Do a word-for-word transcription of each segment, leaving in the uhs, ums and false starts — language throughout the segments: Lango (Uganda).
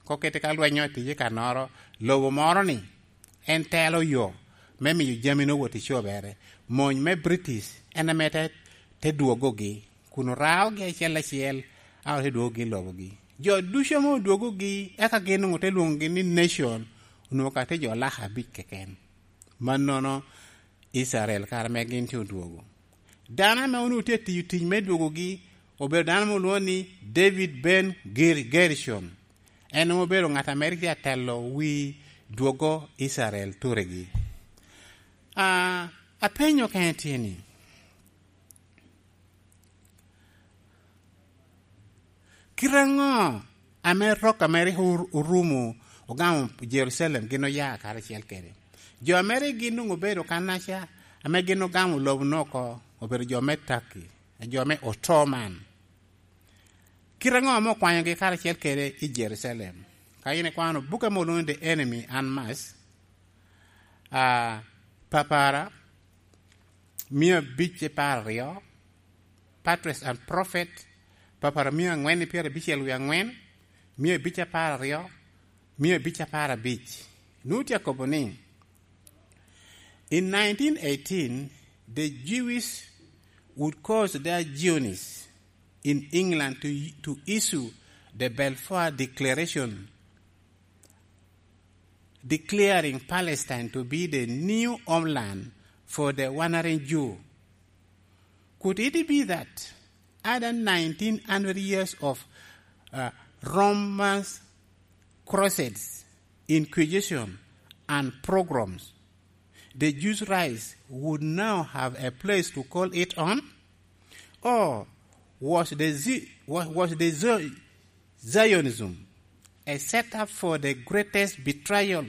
Kokete ka lweny otiye i kannoro, lobo moro-ni en telo yo me miyo jami-nu wot i cobere. Mony me British en ame te, te dwogogi, kun oraogi acel acel, a ote dwogogi i lobogi. Jo ducu ame odwogogi, eka gin onwoŋo te lwoŋogi ni nation, onwoŋo ka tye jo laka abic keken. Mannono, Icrael kare ame gin tye odwogo. Dano ame onwoŋo tye atiyo tic me dwogogi obedo dano ame olwoŋo ni David ben Ger-, Gershon. En onwoŋo obedo ŋat ame rik tye atelo wi dwogo Icrael turegi. A, apenyo kene tye ni, kite aŋo ame rok ame rik or-, orumo ogamo Jerucalem gin oya karacel kede? Jo ame rik gin doŋ obedo kannaca, ame gin ogamo lobo-nu oko, obedo jo me Turkey, jo me Ottoman. Kite aŋo ame okwanyogi karacel kede i Jerucalem? Ka in ikwano bukke ame olwoŋo ni The Enemy Unmasked, a, Papara, mia abic apar aryo, Patriarchs and Prophet, Papara mia aŋwen i pyerabicel wie aŋwen, mia abic apar aryo, mia abic apar abic. Nwoŋo tye akobo ni, in nineteen eighteen, the Jews would cause their Zionism in England to, to issue the Balfour Declaration, declaring Palestine to be the new homeland for the wandering Jew. Could it be that other nineteen hundred years of, uh, Roman crusades, inquisition, and pogroms, the Jews' rights would now have a place to call it on? Or was the Zi-, was, was the Zi-, Zionism a setup for the greatest betrayal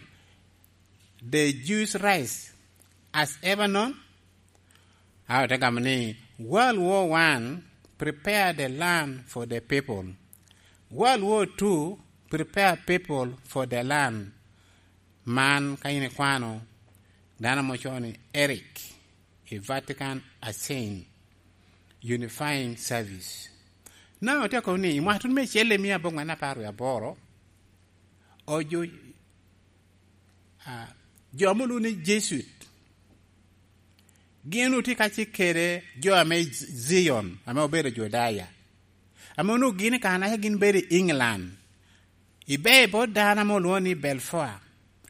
the Jews' rights has ever known? A ote gamo ni, World War One prepare the land for the people. World War Two prepare people for the land. Man ka in ikwano, dano ame ocoo ni Eric i Vatican Ascend Unifying Service. Na otye akobo ni, i mwaka tuno me acel i mia abongwen apar wie aboro, ojo, a, jo ame olwoŋo ni Jesuit, gin otye kacel kede jo ame Z-, Zion, ame obedo Judaya, ame onwoŋo gin i kare-naca gin bedo i England. Ibe i bot dano ame olwoŋo ni Balfour,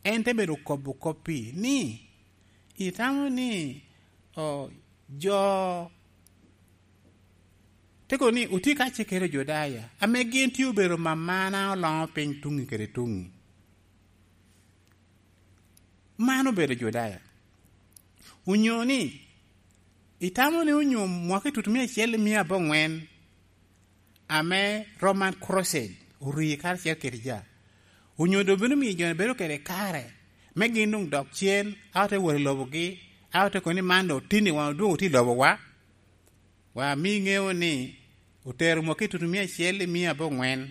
en te bedo kobo koppi ni, itamo ni, o, jo, te kobo ni otye kacel kede Judaya, ame gin tye obedo mamana oloŋo piny tuŋi kede tuŋi. Man obedo Judaya. Onyo ni, itamo ni onyo mwaka i tutu mia acel i mia aboŋwen ame Roman Crusade orii karacel kede ja, onyo doŋ bino miyo jo-ni bedo kede kare me gin doŋ dok cen, a ote wot i lobogi, a ote kobo ni man doŋ otinni wan odwogo tye i lobowa? Wa mi ŋeo ni otero mwaki tutu mia acel i mia aboŋwen,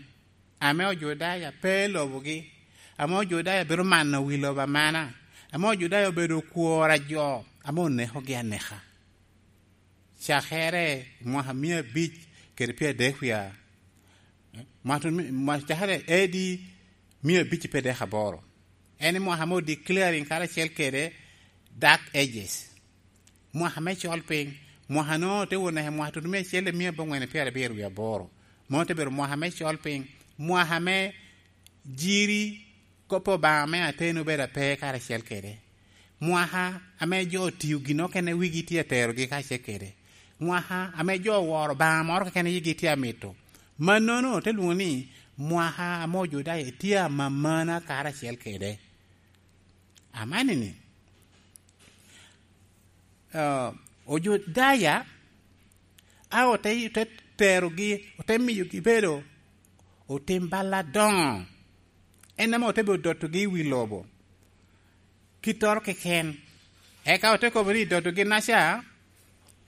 ame Ojudaya pe i lobogi, ame Ojudaya bedo mano wi lobo amana, ame Ojudaya obedo okworo a jo ame onekogi aneka. Cakere i mwaka mia abic kede pyeradek wie, mwaka, mwa-, cakere A D mia abic pyeradek aboro. En i mwaka ame odeclaring karacel kede Dark Ages. Mwaka me col piny, mwaka no te wot naka i mwaka tutu mia acel i mia aboŋwen i pyerabiro wie aboro. Mano te bedo mwaka me col piny, mwaka me jiri kop Obaŋa me ateni obedo ape karacel kede. Mwaka ame jo otio gin okene wigi tye aterogi karacel kede. Mwaka ame jo oworo Obaŋa moro keken yigi tye amito. Mannono te lwoŋo ni mwaka ame Ojudaya tye amamana karacel kede. Amanini, ah, Ojudaya, a ote, ote terogi, ote miyogi bedo otim bal adoŋo. En ame ote bedo dotogi i wi lobo kittoro keken. Eka ote kobo ni i dotogi-naca,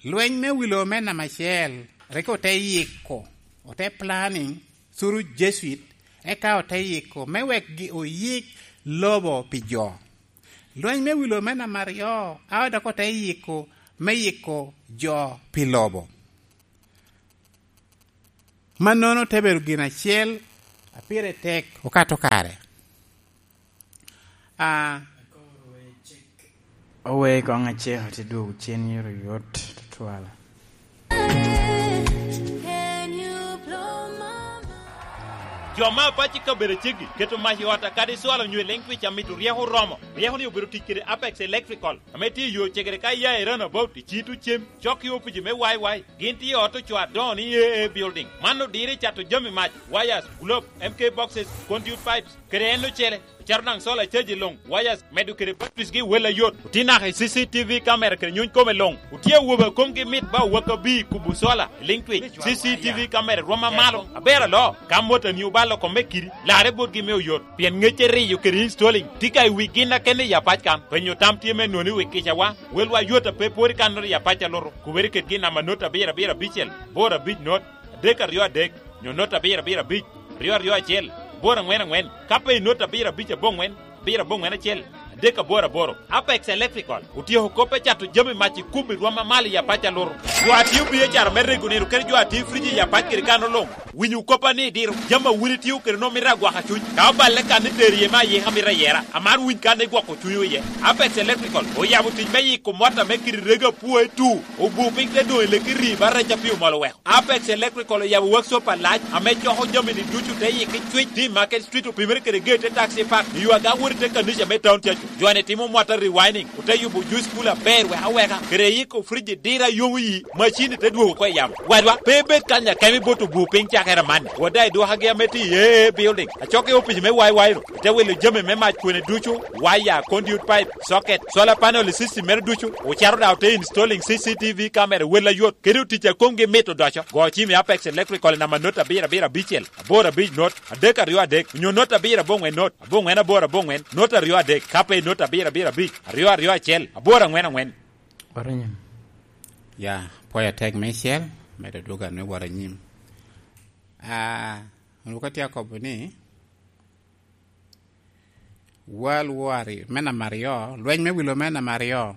lweny me wi lobo me namba acel rik ote yiko, ote planning through Jesuit, eka ote yiko me wek gi oyik lobo pi jo. Lweny me wi lobo me namba aryo, a dok ote yiko me yiko jo pi lobo. Mannono te bedo gin acel A pire tek okato kare. A, owe koŋ aceko te dwogo cen yero yot tutwal. Jo ma apac i kabedo aceggi keto mac i ot akadi cwalo nyo i liŋ twic amito ryeko oromo. Ryeko ni obedo tic kede Apex Electrical ame tye i yo cegere ka iya i Runabout i Cito Cem, cok i opici me Y Y. Gin tye i ot ocoo adoŋo ni A A Building. Man odiro i cato jami mac, wires, globe, M K boxes, conduit pipes, kede en ocele. Ocato daŋ solar caji luŋ, wires, medo kede batteries gi wel ayot. Otye naka i C C T V camera kede nyuny kome luŋ. Otye awobe a komgi mit ba owak abir i kubo solar i liŋ twic. C C T V camera rwom amalo, aber aloo. Ka motani obalo kome kidi, larre botgi me oyot. Pien ŋecce riyo kede installing tye ka i wi gin akene i apac kan. Penyo tam tye me nwoŋo i wi kicawa. Welwa yot a pe pwod i kannoro i apac alutu. Kubere ked gin namba not abiro abiro abicel, boro abic not, adek aryo adek, nyo not abiro abiro abic, aryo aryo acel, boro aŋwen aŋwen. Ka pe i not abiro abic aboŋwen, abiro aboŋwen acel, adek aboro aboro. Apex Electrical otyeko kop me cato jami mac i kubo i rwom amalo i apac alutu. Jo a tio biacara me rego nino kede jo a tio friji i apac kede kano luŋ. Winyo koppa ni diro jami a wun itio kede nwoŋo mito agwaka cuny. Ka oballe kan ni tero iye me ayika mito ayera, amaro winy kan ni gwoko cuny oye. Apex Electrical oyabo tic me yiko mot ame kiri rego apwoe tu, obu piny te doŋ i leki rii ba rec a pi omol oweko. Apex Electrical oyabo workshop alac ame coko jami ni ducu te yiki cwic, ti Market Street opimere kede gate te taxi park, i yo aga wot i te kanica me town cacu. Jo ni timo mot a rewinding, ote yubo juice cooler aber wek aweka, kede yiko friji dira yomo yi, macini te dwogo oko i yamo. Wadwa, pe ibed kany akemi bot obu piny cakere amanni. Wada i dwokagi ame tye i A A Building, acok i opic me Y Y ru, ite wilo jami me mac kwene ducu, waya, conduit pipe, socket, solar panel i system mere ducu, ocato daŋ ote installing C C T V camera wel ayot, kede otic a komgi mit odoco. Go cim i Apex Electrical i namba not abiro abiro abicel, aboro abic not, adek aryo adek, onyo not abiro aboŋwen not, aboŋwen aboro aboŋwen, not aryo adek, ka pe i not abiro abiro abic, aryo aryo acel, aboro aŋwen aŋwen. Wot anyim. Ya, pwoyo atek meicel, medo dwogo anu wot anyim. Ah, onwoŋo ka tye akobo ni, World War me namba aryo, lweny me wilo me namba aryo,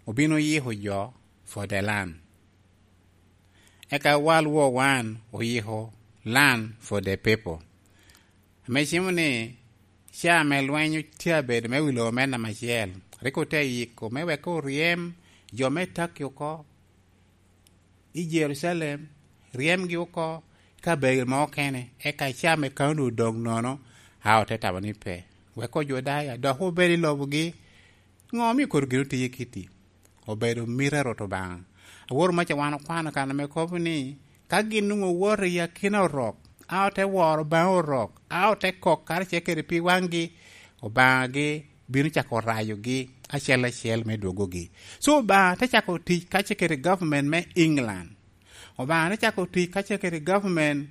obino yiko jo for the land. Eka World War One oyiko land for the people. Ame cimo ni, ca ame lweny tye abedo me wi lobo me namba acel, rik ote yiko me wek oryem jo me Turkey oko i Jerucalem, ryemgi oko i kabedo mo okene, eka ca ame kaunti odoŋ nono, a ote tamo ni pe. Wek Ojudaya dok obed i lobogi. Ŋo omio kono gin otiye kiti? Obedo miti a Rwot Obaŋa. Awor maca wan okwano kan ame kobo ni, ka gin nwoŋo owoto i akina Orok, a ote woro baŋ Orok, a ote kok karacel kede pi waŋgi, Obaŋagi bino cako rayogi acel acel me dwogogi. So Obaŋa te cako tic kacel kede government me England. Obaŋa te cako tic kacel kede government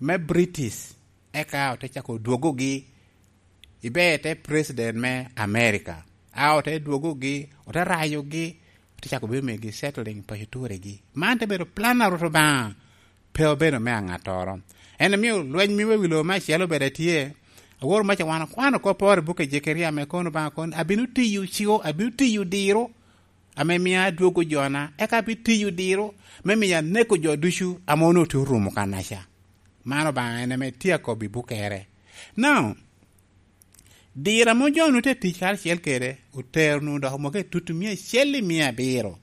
me British, eka ote cako dwogogi. Ibe te president me America, a ote dwogogi, ote rayogi, ote cako bino migi settling paco turegi. Man te bedo plan a Rwot Obaŋa, pe obedo me aŋattoro. En omio lweny me wi lobo me acel obed atye. Awor maca wan okwano kop oro i buk a Jekeria ame kono Obaŋa kono, "Abino tiyo ciwo, abino tiyo diro, ame mia adwogo jona, eka abitiyo diro, me miyo aneko jo ducu ame onwoŋo tye orumo kanaca." Man Obaŋa en ame tye akobbi bukere. Now, dira mo jo-nu te tic karacel kede, otero-nu dok omoko i tutu mia acel i mia abiro.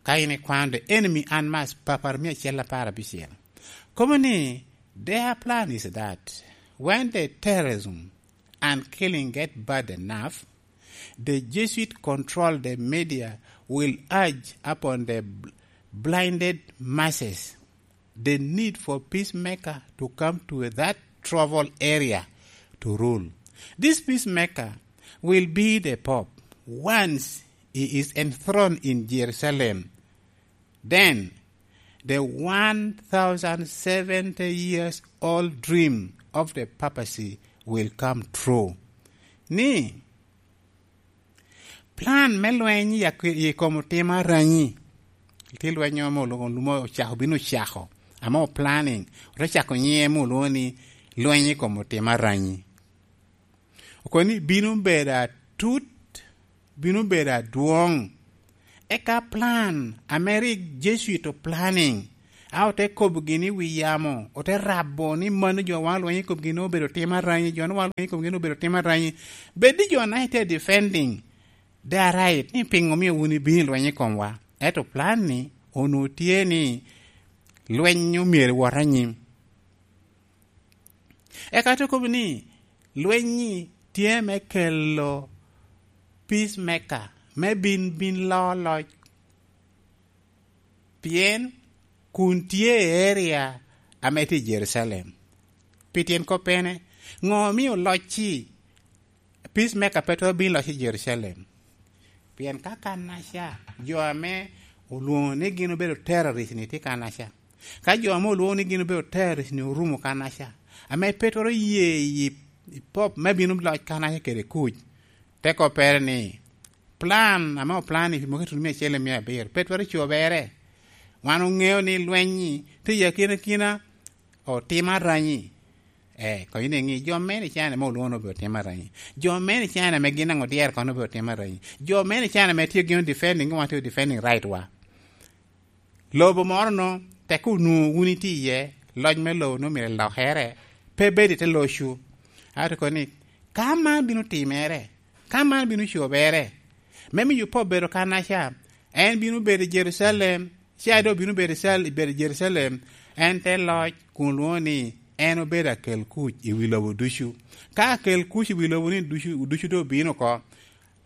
Ka in ikwano the enemy unmasked, papar mia acel apar abicel. Kobo ni, their plan is that when the terrorism and killing get bad enough, the Jesuit control the media will urge upon the bl-, blinded masses the need for peacemaker to come to that troubled area to rule. This peacemaker will be the Pope once he is enthroned in Jerusalem. Then the one thousand seventy years old dream of the papacy will come true. Ni plan me lweny i ak-, i kom otima aranyi. Tye lweny mo olwoŋo, lum ocako, bino ocako. Ame planning, ote cako nyiŋe mo olwoŋo ni lweny i kom otima aranyi. Okobo ni bino bedo atut, bino bedo adwoŋ. Eka plan ame rik Jesuit o planning, a ote kobo gini i wi yamo, ote rabo ni mano jo wan olwenyo i komgi ni obedo tim aranyi, jo ni wan olwenyo i komgi ni obedo tim aranyi. Bed ni jo na itye defending their right ni piŋo omio wun ibino i lweny i komwa. Ento plan ni onwoŋo tye ni lweny omyero wot anyim. Eka te kobo ni lweny-nyi tye me kelo peacemaker, me bin, bin loo loc. Pien kun tye i area ame tye i Jerucalem. Pi tyen kop pene, ŋo omio locci peacemaker pe twero bino loc i Jerucalem? Pien ka kannaca, jo ame olwoŋo ni gin obedo terrorist-ni tye kannaca, ka jo ame olwoŋo ni gin obedo terrorist-ni orumo kannaca, ame pe twero ye i, i pop me bino loc kannaca kede kuc, te koppere ni, plan ame oplan i mwaka tuno mia acel i mia abiro pe twero cobere. Wan oŋeo ni lweny-nyi tye i akinakina, otim aranyi. Eh, kono in iŋi, jo mene i China ame olwoŋo ni obedo tim aranyi? Jo mene i China ame gin aŋo dyere kono obedo tim aranyi? Jo mene i China ame tye gin defending, wan tye defending right wa. Lobo moro no, tek onwoŋo wun itye iye, loc me lobo no myero elokere, pe bed i te locwu. Ato kono ni, ka man bino timere, ka man bino cobere, me miyo pe obedo kannaca, en bino bedo i Jerucalem, ca doŋ bino bedo i Cal-, bedo i Jerucalem, en te loc kun lwoŋo ni en obedo akel kuc i wi lobo ducu. Ka akel kuc i wi lobo ni ducu, ducu doŋ obino oko,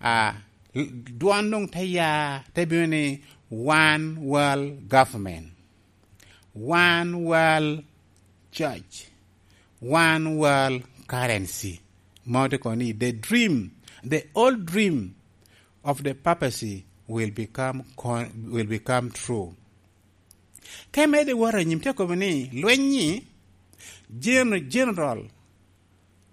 a, l-, dwon doŋ te ya, te bino ni one world government, one world church, one world currency. Mano te kono ni the dream, the old dream of the papacy will become con-, will become true. Ka imedde wot anyim, te kobo ni lweny-nyi, Gen-, General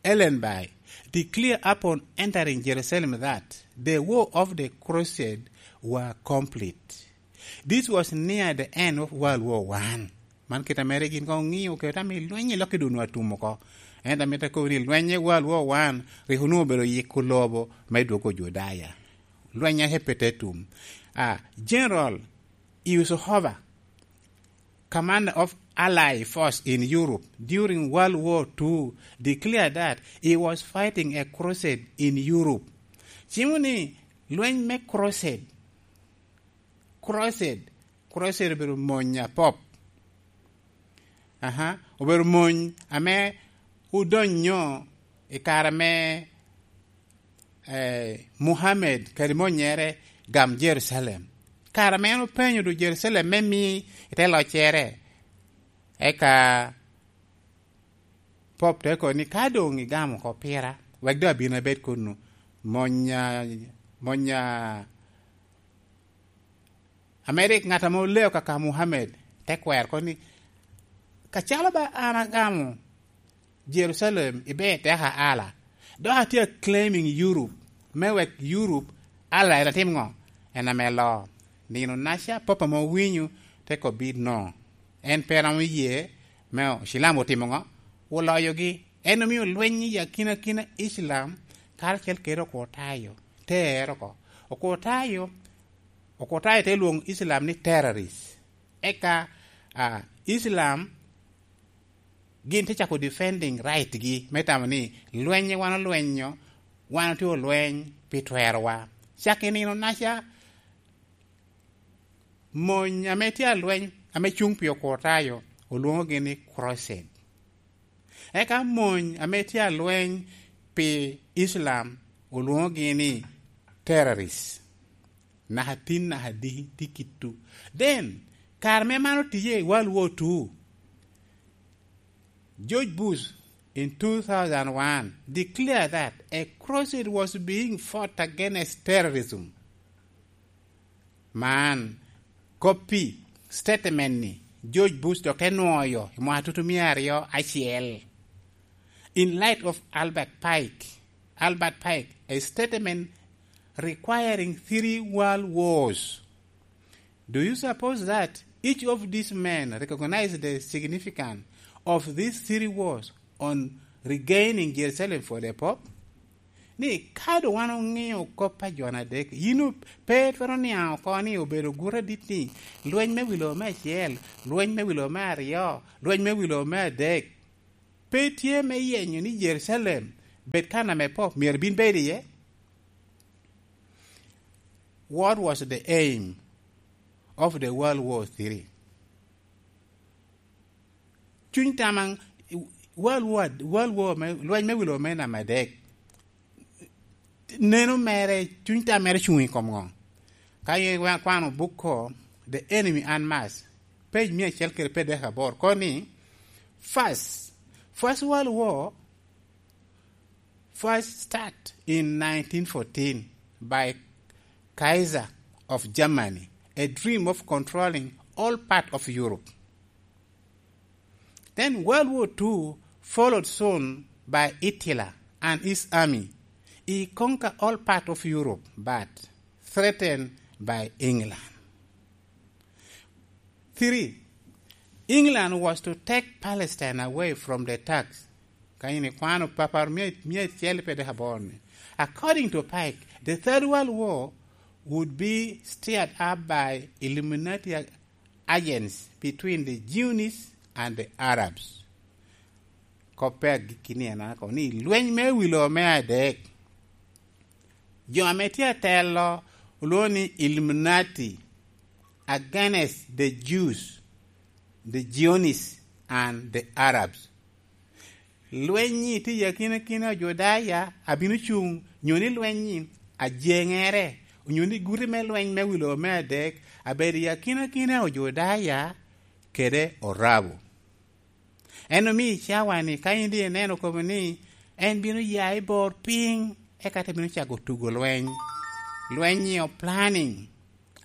Ellenby declare upon entering Jerusalem that the war of the crusade were complete. This was near the end of World War One. Man kit a mere gin koŋ oŋio kede ame lweny i lokke dun wa tum oko. Ento amito akobo ni lweny i World War One rik onwoŋo obedo yiko lobo me dwogo Judaya. Lweny a hepete tum. Ah, General Eisenhower, commander of Allied force in Europe during World War Two, declared that he was fighting a crusade in Europe. Cimo ni lweny me crusade, crusade, crusade obedo mony a pop. Aha, obedo mony ame odonyo i kare me, eh, Muhammad kadi monyere gam Jerucalem. Kare ame en openyo du Jerucalem me mi i te loccere, eka Pop te kobo ni, "Ka doŋ igamo oko pira, wek doŋ abin abed kunu." Monya, monya, ame rik ŋat ame oleo kaka Muhammad te kwero oko ni, "Kacalo ba an agamo Jerucalem, iber teka ala, dok atye a claiming Europe, me wek Europe ala en atim ŋo? En ame loo." Nino naca, Pop ame owinyo te kobbi no. En pe romo ye me Ocilam otimo ŋo? Oloyogi. En omio lweny i akinakina Icilam karacel kede Okurtayo ter oko. Okurtayo, Okurtayo te lwoŋo Icilam ni terrorist. Eka, ah, Icilam gin te cako defending right gi me tamo ni lweny wan olwenyo, wan otye olweny pi twerowa. Cak i nino naca, mony ame tye alweny ame cuŋ pi Okurtayo olwoŋogi ni crusade. Eka mony ame tye alweny pi Islam olwoŋogi ni terrorist. Naka tin, naka di, di kittu. Then, kare me man otiye i World War Two, George Bush in two thousand one declared that a crusade was being fought against terrorism. Man, koppi statement ni George Bush dok te nwoyo i mwaka tutu mia aryo acel. In light of Albert Pike, Albert Pike, a statement requiring three world wars. Do you suppose that each of these men recognized the significance of these three wars on regaining Jerusalem for the Pope? Ni ka doŋ wan oŋeo kop a jo adek, yin o-, pe twero niaŋ oko ni obedo guto adit ni lweny me wi lobo me acel, lweny me wi lobo me aryo, lweny me wi lobo me adek. Pe tye me yenyo ni Jerucalem bed kan ame Pope myero bin bed iye. What was the aim of the World War Three? Cuny tam a World War, World War me, lweny me wi lobo me namba adek, neno mere, cuny tam mere cuŋ i kom ŋo? Ka yin ikwano buk ko, The Enemy Unmasked, page mia acel kede pyeraryo aboro, kono ni, First, First World War first start in nineteen fourteen by Kaiser of Germany, a dream of controlling all part of Europe. Then World War Two followed soon by Hitler and his army. He conquered all part of Europe, but threatened by England. Three, England was to take Palestine away from the Turks. Ka yin ikwano papar mia, mia acel pyeraryo aboro ni. According to Pike, the Third World War would be stirred up by Illuminati agents between the Jews and the Arabs. Koppe agikki ni en ako ni lweny me wi lobo me adek, jo ame tye atelo olwoŋo ni Illuminati against the Jews, the Zionis, and the Arabs. Lweny-nyi tye i akinakina Ojudaya abino cuŋ, nyo ni lweny-nyi ajeŋere, onyo ni guti me lweny me wi lobo me adek abedo i akinakina Ojudaya kede Orabo. En omio i cawa-ni, ka in doŋ ineno kobo ni en bino ya i bor piny, eka te bino cako tugo lweny. Lweny-nyi o planning,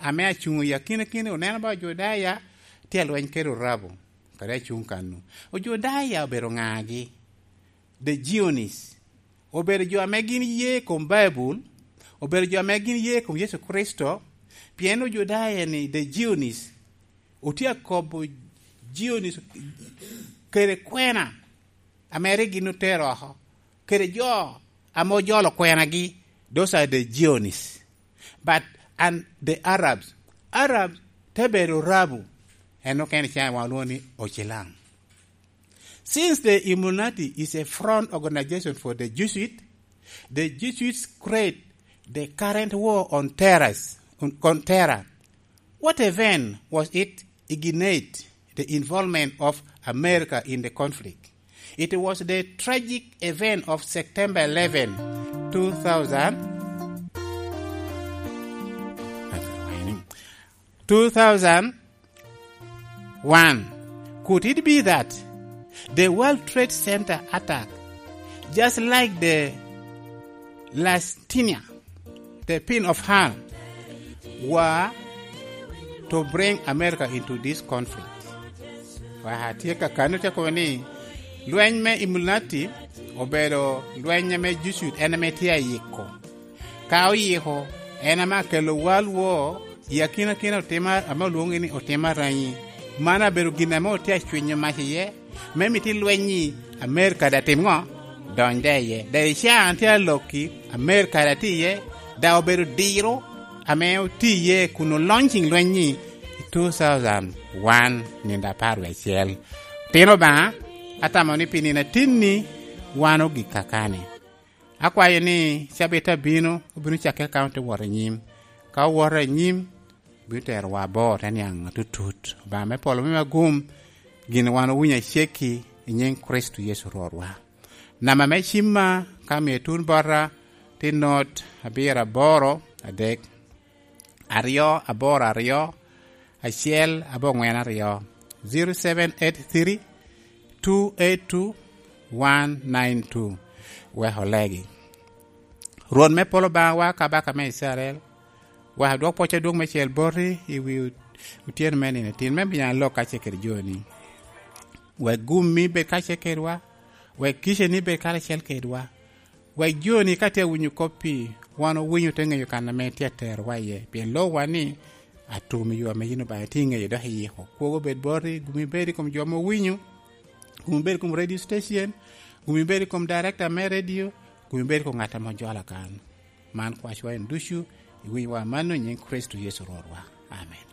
ame acuŋ i akinakina, oneno ba Ojudaya tye alweny kede Orabo, kadi acuŋ kano. Ojudaya obedo ŋagi? The Zionis. Obedo jo ame gin ye i kom Baibul, obedo jo ame gin ye i kom Yecu Kricito, pien Ojudaya-ni, the Zionis, otye akobo Zionis kede kwena ame rik gin otero oko, kede jo ame ojolo kwenagi, those are the Zionis. But, and the Arabs, Arabs te bedo Arabu, en okene ca wan olwoŋo ni Ocilaŋ. Since the Illuminati is a front organization for the Jesuit, the Jesuits create the current war on terrors, on, on terror. What event was it ignite the involvement of America in the conflict? It was the tragic event of September eleven, two thousand, two thousand one. Could it be that the World Trade Center attack, just like the Lusitania, the Pit of Hell, were to bring America into this conflict? Wa tye ka kano te kobo ni lweny me Illuminati obedo lweny ame Jesuit en ame tye ayiko. Ka oyiko, en ame akelo World War i akinakina otima ame olwoŋo ni otima ranyi. Man abedo gin ame otye acwinyo mac iye, me miti lweny-nyi Amerika daŋ tim ŋo? Dony de iye. Daŋ i can tye alokki, Amerika daŋ tye iye, daŋ obedo diro ame otye iye kun olonyo ciŋ lweny-nyi i two thousand one, nino apar wie acel. Tino Obaŋa, atamo ni pi nino atinni wan ogik kakani. Akwayo ni cabit abino, obino cakke ka ote wot i nyim. Ka owoto i nyim, obino terowa abor te niaŋ atutut. Obaŋa me polo me agum, gin wan owinyo acekki i nyiŋ Kricito Yecu Rwotwa. Namba me cimma, ka mio tun bota, tye not abiro aboro adek, aryo aboro aryo, acel aboŋwen aryo, zero seven eight three, two eight two, one nine two. Wek olegi. Rwot me polo Obaŋawa, Kabaka me Icrael, wek adwok pwoc adwoŋ me cel boti i wi otyeno me nino tin me miya lok kacel kede joni. Wek gummi bed kacel kedwa, wek kiceni bed karacel kedwa, wek joni ka tye awinyo kop-pi, wan owinyo te ŋeyo kan ame tye aterowa iye, pien lobwa ni, atum i yo ame yin Obaŋa itye ŋeyo dok iyiko. Kwogo bed boti, gumi bed i kom jo ame owinyo, gumi bed i kom radio station, gumi bed i kom director me radio, Kun ibed ko ŋat ame ojolo kan. Man kwacwa en ducu, iwinyowa mano i nyiŋ Kricito Yecu Rwotwa. Amen.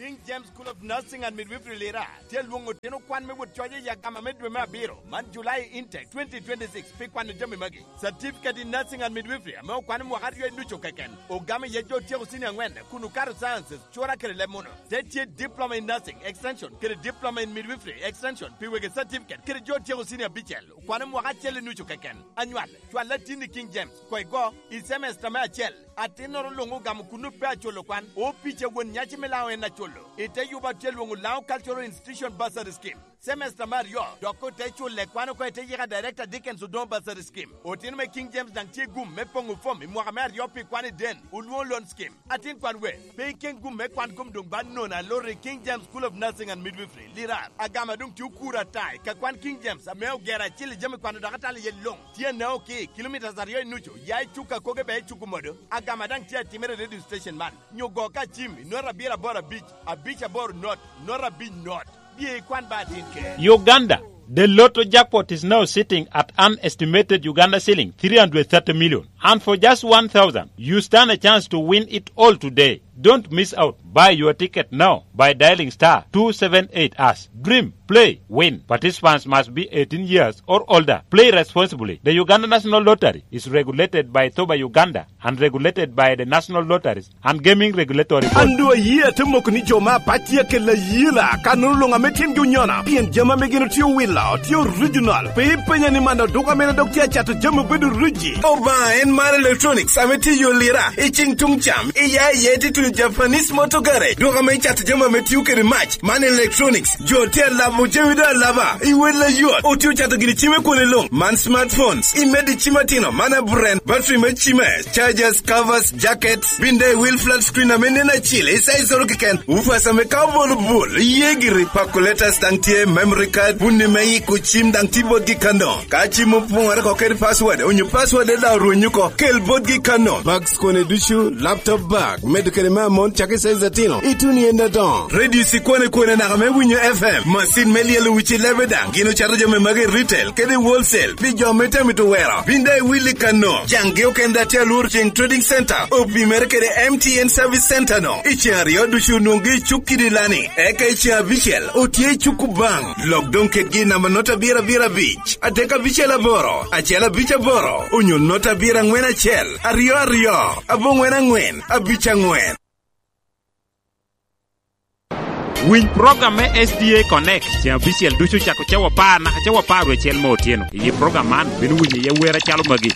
King James School of Nursing and Midwifery Lira tye lwoŋo otino kwan me wot coc i agama me dwe me abiro, man July intake twenty twenty-six, pi kwano jami magi. Certificate in Nursing and Midwifery ame okwano mwaka aryo i nucu keken, ogamo iye jo otyeko cini angwen kun okato sciences, cura kede leb muno. Te tye Diploma in Nursing Extension kede Diploma in Midwifery Extension pi wegi certificate kede jo otyeko cini abicel, okwano mwaka acel i nucu keken. Anywal, cwal atin i King James, koŋ igo i semester me acel. Atinnoro luŋ ogamo kuno pe aculo kwan, opic a won nyaci me Laŋo en aculo. I te yubo atye lwoŋo Laŋo Cultural Institution Bursary Scheme. Semester me aryo, dok ote culle kwan oko i te yika Director Dickens Odongo Bursary Scheme. Otino me King James daŋ tye gum me poŋo fom i mwaka me aryo pi kwan i den, olwoŋo loan scheme. Atin kwan we, pe iken gum me kwan kom doŋ ba nono alor i King James School of Nursing and Midwifery, Lirar. Agama doŋ tye okuro ata i ka kwan King James ame ogero acil i jami kwano dok atalo iye luŋ. Tye anao ki kilomitas aryo i nucu, ya i cuk akoge bea i cuk omodo. Agama daŋ tye atimere i radio station man. Nyo go ka cim i not abiro aboro abic, abic aboro not, not abic not. Bye ikwan ba atin ker. Uganda, the lotto jackpot is now sitting at an estimated Uganda shilling three hundred thirty million. And for just one thousand, you stand a chance to win it all today. Don't miss out. Buy your ticket now by dialing star two seven eight hash. Dream, play, win. Participants must be eighteen years or older. Play responsibly. The Uganda National Lottery is regulated by Thoba Uganda and regulated by the National Lotteries and Gaming Regulatory Board. An doŋ ayie ate moko ni jo me apac tye akelo ayela, ka nwoŋo luŋ ame tyengi onyono, pien jami ame gin otye owilo tye original. Pe ipenya ni man oduka mene dok tye acato jami obedo riji. Obaŋa en mar electronics ame tye i yo Lira, i ciŋ tuŋ cam, i ya i ye tye tuno Japanese Motor Garage, duka ame cato jami ame tio kede mac, man electronics. Jo tye alabo jami doŋ alaba i wel ayot. Otye ocato gini cim i kwone luŋ. Man smartphones, i medo i cim atino, man aburen, battery me cime, chargers, covers, jackets, bin daŋ i wil flat screen ame nen acil, i size oro keken. Woofers ame ka obolo bul, iye giri. Calculators daŋ tye, memory card, bunni me yiko cim daŋ tye botgi kano. Ka cim opoŋore oko kede password, onyo password daŋ orwenyo oko, kel botgi kano. Bags kone ducu, laptop bag, medo kede me amon, cak i size atino, ituno i en adoŋo. Radio cikwane kwane naka me winyo F M, masin me lyelo wici lebe daŋ, gin ocato jami magi i retail kede i wholesale pi jo me tamito wero. Bin daŋ iwil i kano. Caŋgi okende daŋ tye alworo ceŋ Trading Center, opimere kede M T N Service Center no. I ceŋ aryo ducu onwoŋgi i cuk kidi lani, eka i ceŋ abicel otye i cuk Kubaŋ. Lok doŋ kedgi i namba not abiro abiro abic, adek abicel aboro, acel abic aboro, onyo not abiro aŋwen acel, aryo aryo, aboŋwen aŋwen, abic aŋwen. Winy program me S D A Connect ceŋ abicel ducu cako cawa apar naka cawa apar wiye acel me otyeno. I program man, bino winyo iye wer acalo magi.